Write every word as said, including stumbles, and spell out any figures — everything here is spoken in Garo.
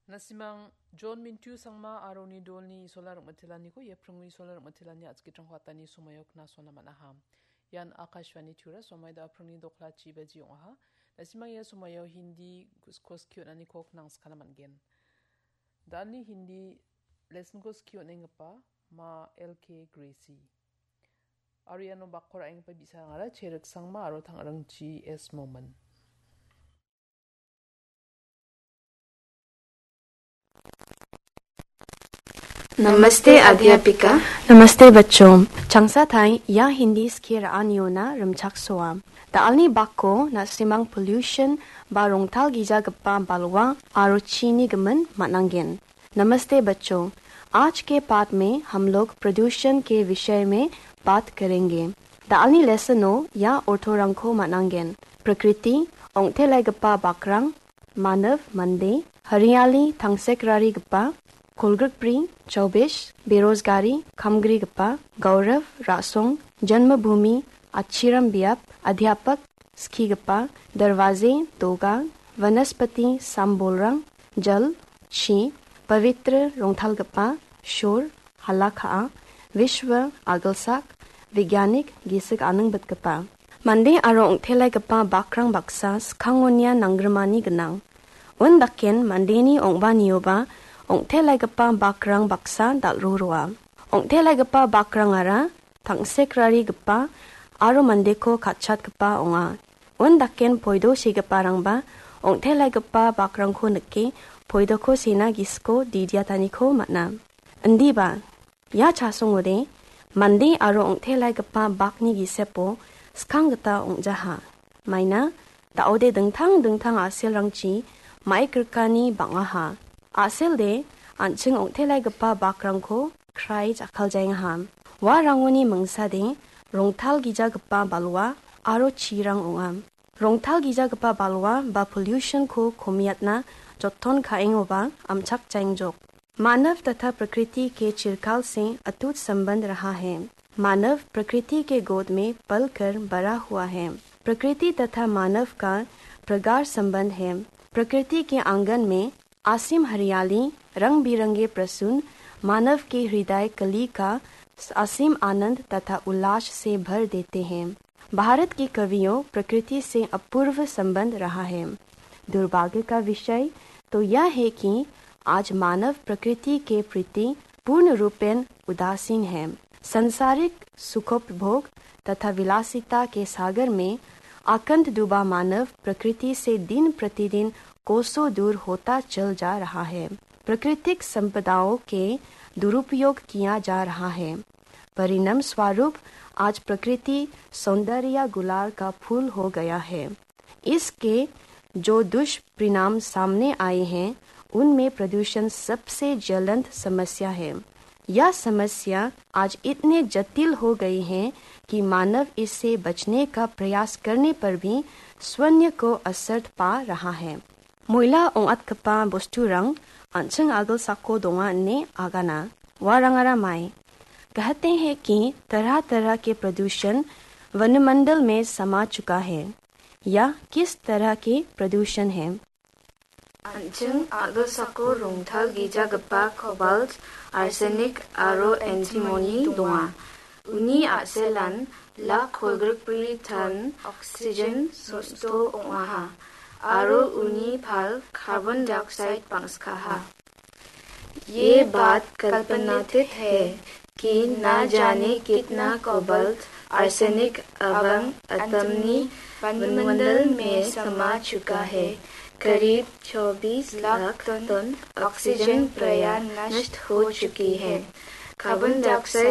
Na·simang John Mintu Sangma aro uni dolni Isola rim·itelaniko ia pringni Isola rim·itelani a·chikrangko atani somoio knasona man·aha. Ian Akashvani Tura, somoi da pringni doklachi baji ong·aha. Na·simang ia somoio Hindi kus-, kos ki on·aniko knangskana man·gen. Da·alni Hindi lesson kos ki on·enggipa ma L K Gracie. Aro iano bakko ra·enggipa bi·sarangara Cherik Sangma aro Tangrangchi S Momin. नमस्ते अध्यापिका। नमस्ते बच्चों। Changsa thai, ia Hindi skie ra·aniona rimchaksoa. Da·alni bakko na·simang pollution ba rongtalgijagipa balwa aro chini gimin man·angen. नमस्ते बच्चों, आज के पाठ में हम लोग प्रदूषण के विषय में बात करेंगे. Da·alni lesson-o ia orthorangko man·angen. Prakriti, ong·telaigipa bakrang, manav, mande, hariyali, tangsekrarigipa, kolgrikbri, chaubish, berozgari, kamgrigipa, gaurav, ra·song, janmabhumi, achiram biap, adhyapak, skigipa, darvaze, doga, vanaspati, sambolrang, jal, chi, pavitra, rongtalgipa, shor, hala ka·a, vishwa, agilsak, vigyanik, gisik aningbitgipa. Mande aro ong·telaigipa bakrang baksa skangonia nanggrimani gnang. Undaken mandeni ong·banioba ong·telaigipa bakrang baksa dal·ro roa. Ong·telaigipa bakrangara tangsekrarigipa aro mandeko katchatgipa ong·a. Undaken poido segiparangba ong·telaigipa bakrangko nike poidoko sena gisiko didiataniko man·a. Indiba, ia chasongode mande aro ong·telaigipa bakni gisepo skang gita ong·jaha. Maina, da·ode dingtang dingtang a·selrangchi maikrikani bang·aha. A·selde an·ching ong·telaigipa bakrangko krai jakkaljaengaha. Uarangoni mingsade rongtalgijagipa balwa aro chirang ong·a. Rongtalgijagipa balwa ba pollution-ko komiatna joton ka·engoba amchakjaengjok. मानव तथा प्रकृति के चिरकाल से अटूट संबंध रहा है। मानव प्रकृति के गोद में पलकर बड़ा हुआ है। प्रकृति तथा मानव का प्रगाढ़ संबंध है। प्रकृति के आंगन में असीम हरियाली, रंग बिरंगे प्रसून मानव के हृदय कली का असीम आनंद तथा उल्लास से भर देते हैं। भारत के कवियों प्रकृति से अपूर्व संबंध रहा है। दुर्भाग्य का विषय तो यह है कि आज मानव प्रकृति के प्रति पूर्ण रूपेण उदासीन है। सांसारिक सुखोपभोग तथा विलासिता के सागर में आकंद डूबा मानव प्रकृति से दिन प्रतिदिन कोसों दूर होता चल जा रहा है। प्राकृतिक संपदाओं के दुरुपयोग किया जा रहा है। परिणाम स्वरूप आज प्रकृति सौंदर्य गुलाल का फूल हो गया है। इसके जो दुष्परिणाम सामने आए हैं, उनमें प्रदूषण सबसे ज्वलंत समस्या है। यह समस्या आज इतने जटिल हो गई है कि मानव इससे बचने का प्रयास करने पर भी शून्य को असर पा रहा है। Moila ong·atgipa bosturang an·ching agilsako donga ine agana. Uarangara mai. कहते हैं कि तरह-तरह के प्रदूषण वायुमंडल में समा चुका है। यह किस तरह के प्रदूषण है? An·ching agilsako rongtalgijagipa cobalt, arsenic aro antimony donga. Uni a·selan lak kolgrikbri ton oxygen sosto ong·aha, aro uni pal carbon dioxide bangskaha. ये बात कल्पनातीत है कि ना जाने कितना कोबाल्ट, आर्सेनिक एवं एंटीमोनी वायुमंडल में समा चुका है। करीब चौबीस लाख टन ऑक्सीजन प्रायः नष्ट हो चुकी है। Carbon dioxide